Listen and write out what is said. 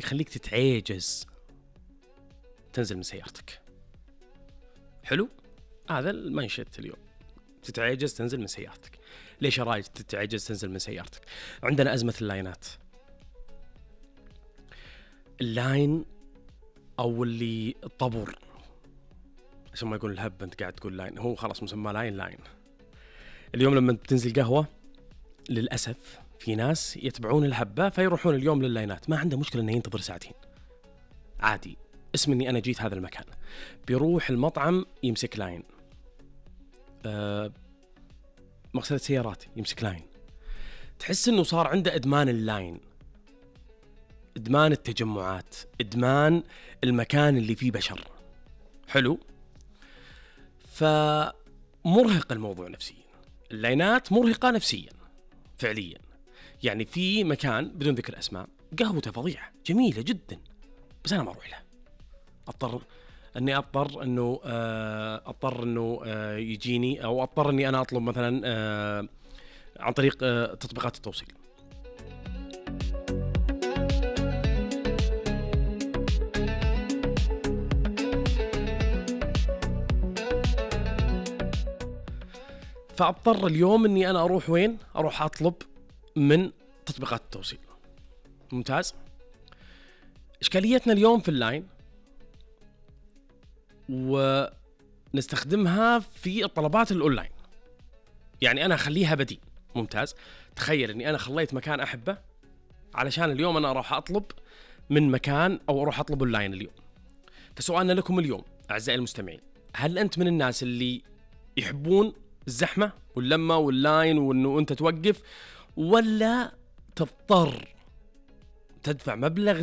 يخليك تتعجز تنزل من سيارتك. حلو؟ هذا المنشط اليوم، تتعجز تنزل من سيارتك. ليش رايك تتعجز تنزل من سيارتك؟ عندنا أزمة اللاينات. اللاين أو اللي الطابور، عشان ما يقول الهب أنت قاعد تقول لاين، هو خلاص مسمى لاين. اليوم لما بتنزل قهوة للأسف في ناس يتبعون الهبة فيروحون اليوم لللاينات، ما عنده مشكلة إنه ينتظر ساعتين عادي، اسم إني أنا جيت هذا المكان. بيروح المطعم يمسك لاين، مغسلة سيارات يمسك لاين. تحس إنه صار عنده إدمان اللاين، إدمان التجمعات، إدمان المكان اللي فيه بشر. حلو؟ فمرهق الموضوع نفسيا، اللاينات مرهقة نفسيا فعليا. يعني في مكان بدون ذكر أسماء قهوته فظيعة جميلة جدا، بس أنا ما أروح له، أضطر إنه يجيني، أو أضطر إني أنا أطلب مثلا عن طريق تطبيقات التوصيل. فأضطر اليوم إني أنا أروح وين؟ أروح أطلب من تطبيقات التوصيل. ممتاز. إشكاليتنا اليوم في اللاين، ونستخدمها في الطلبات الأونلاين، يعني أنا أخليها بديل. ممتاز. تخيل إني أنا خليت مكان أحبه علشان اليوم أنا أروح أطلب من مكان أو أروح أطلب أونلاين اليوم. فسؤالنا لكم اليوم أعزائي المستمعين، هل أنت من الناس اللي يحبون الزحمة واللمة واللاين وإنه أنت توقف، ولا تضطر تدفع مبلغ